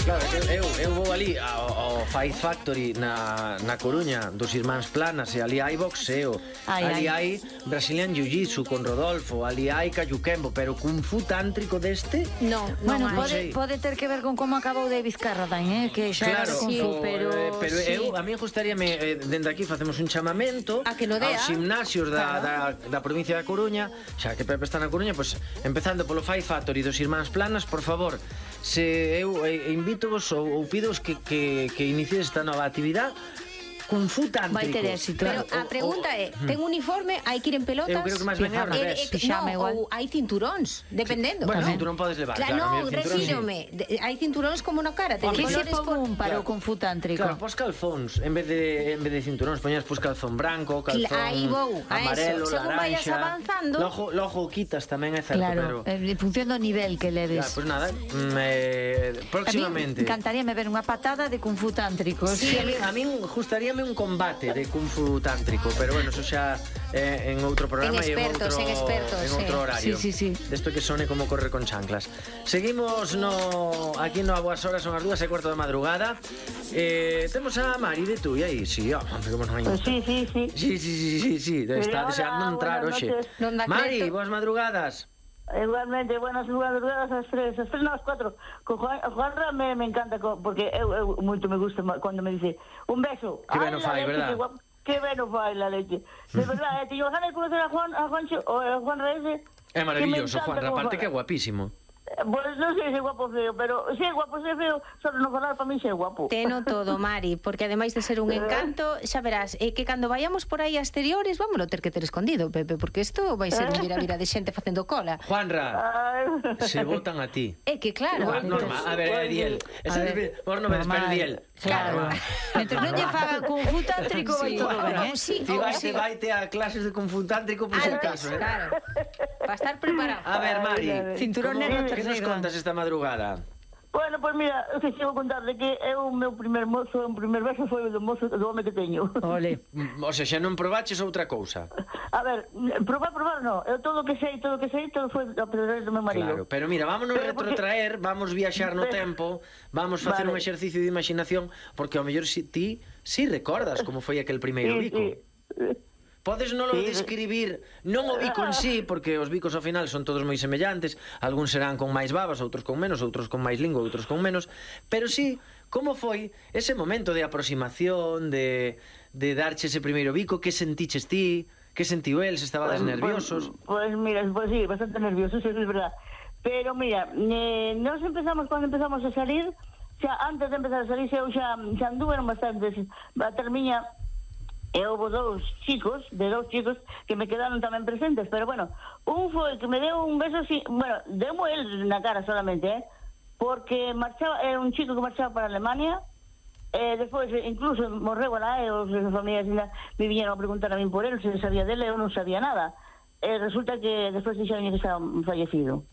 Claro, eu vou ali ao Fight Factory na Coruña dos Irmáns Planas e ali hai boxeo, ali hai Brazilian Jiu-Jitsu con Rodolfo, ali hai Kayukembo, pero Kung Fu tántrico deste? No, bueno, pode ter que ver con como acabou David Carradine, que xa era de Kung Fu, pero eu, a mí gustaríame, dende aquí facemos un chamamento a que no dea aos gimnasios da provincia da Coruña, xa que Pepe está na Coruña, pois empezando polo Fight Factory dos Irmáns Planas, por favor, se eu invítovos ou pidovos que inicies esta nova actividade Kung Fu tántrico. Vai ter éxito. Pero a pregunta é, ten uniforme, hai que ir en pelotas? Eu creo que máis ben ao revés. Ou hai cinturóns, dependendo. Bueno, cinturón podes levar, claro. Non, refírome, hai cinturóns como no cara. Que se pon para o Kung Fu tántrico? Claro, pos calzóns, en vez de cinturóns, poñas pos calzón branco, calzón amarelo, según vayas avanzando. Logo quitas tamén, é certo, pero en función do nivel que leves. Pois nada, próximamente. A mí encantaríame ver unha patada de Kung Fu tántrico. Sí, a min gustaríame un combate de Kung Fu tántrico, pero bueno, eso xa en outro programa en expertos, en outro horario. Sí. Desto que sone como correr con chanclas. Seguimos aquí no A Boas Horas, son as 2:15 da madrugada. Temos a Mari de Tui aí, sí, Sí, está deseando entrar hoxe. Mari, boas madrugadas. Igualmente, buenas madrugadas ás 3, no, ás 4. Con Juanra me encanta, porque eu moito me gusta cando me dice un beso. Que ben o fai, verdad? Que ben o fai la leche. De verdad, teño ganas de conocer a Juanra ese. É maravilloso, Juanra, aparte que é guapísimo. Pues non sei se é guapo ou feo, pero se é guapo, se é feo, só non falar para mí se é guapo. Teno todo, Mari, porque ademais de ser un encanto, xa verás, que cando vayamos por aí a exteriores, vámoslo ter que ter escondido, Pepe, porque isto vai ser un vira de xente facendo cola. Juanra, se votan a ti. É que claro. Normal, a ver, Diel. Vos non me despedes, Diel. Claro. Entre non lle faga Kung Fu tántrico vai todo ben, Ti vaite a clases de Kung Fu tántrico por si acaso, claro. Para estar preparado. A ver, Mari, cinturón negro que nos contas esta madrugada? Bueno, pues mira, que chego a contarle que o meu primer mozo, o primer beso foi o do mozo do home que teño. Ole. O sea, xa non probaches outra cousa. A ver, probar non. Eu todo o que sei, todo foi a través do meu marido. Claro, pero mira, vámonos retrotraer, vamos viaxar no tempo, vamos facer un exercicio de imaginación, porque ao mellor ti recordas como foi aquel primeiro bico. Podes non o describir, non o bico en sí, porque os bicos ao final son todos moi semellantes, algúns serán con máis babas, outros con menos, outros con máis lingua, outros con menos, pero sí, como foi ese momento de aproximación, de darche ese primeiro bico, que sentiches ti, que sentiu el, se estabades nerviosos? Pues mira, pues sí, bastante nerviosos, es verdad. Pero mira, nos empezamos, cuando empezamos a salir, xa antes de empezar a salir, xa anduveron bastantes, a termiña. E houve dous chicos que me quedaron tamén presentes, pero bueno, un foi que me deu un beso así, bueno, demo el na cara solamente, porque marchaba, era un chico que marchaba para Alemania, despois incluso morreu lá, e os familias me viñeron a preguntar a min por él, se sabía dele, eu non sabía nada. Resulta que despois dixeron que estaba fallecido.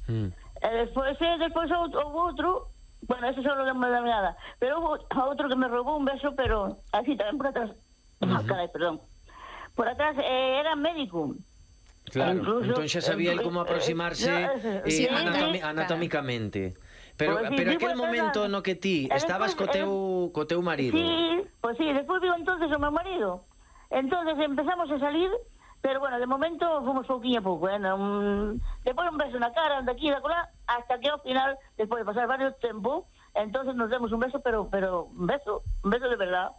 Despois houve outro, bueno, ese só non me dá nada, pero houve outro que me roubou un beso, pero así tamén por atrás. Carai, perdón. Por atrás era médico. Claro, entón xa sabía el como aproximarse anatómicamente. Pero aquel momento no que ti estabas co teu marido. Sí, pues sí, despois vivo entonces o meu marido. Entonces empezamos a salir, pero bueno, de momento fomos pouquinho a pouco, despois un beso na cara, de aquí e da colá, hasta que ao final, despois de pasar varios tempo, entonces nos demos un beso, pero un beso de verdad.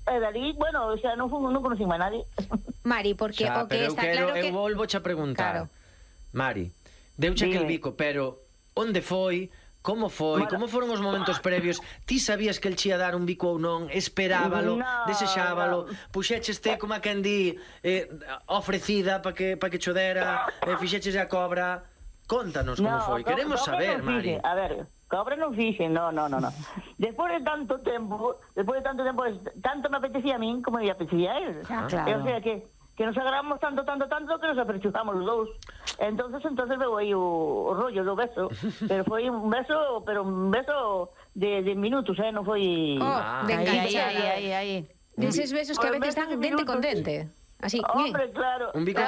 E dali, bueno, o sea, non conocí máis nadie. Mari, porque o que está claro que... Eu volvoche a preguntar, Mari, deuche aquel bico, pero onde foi, como foi, como foron os momentos previos? Ti sabías que el chía dar un bico ou non? Esperábalo, desexábalo, puxécheste como a quen di ofrecida para que chodera, fixeches a cobra? Contanos como foi, queremos saber, Mari. A ver, cobra non fixen, no. Despois de tanto tempo, tanto me apetecía a min como me apetecía a él. Claro. O sea que nos agradamos tanto que nos aperchuzamos os dous. Entonces veo aí o rollo do beso, pero foi un beso de minutos, non foi... de enganchada. Deses besos que a veces dan dente con dente. Así, hombre, claro. Un bico de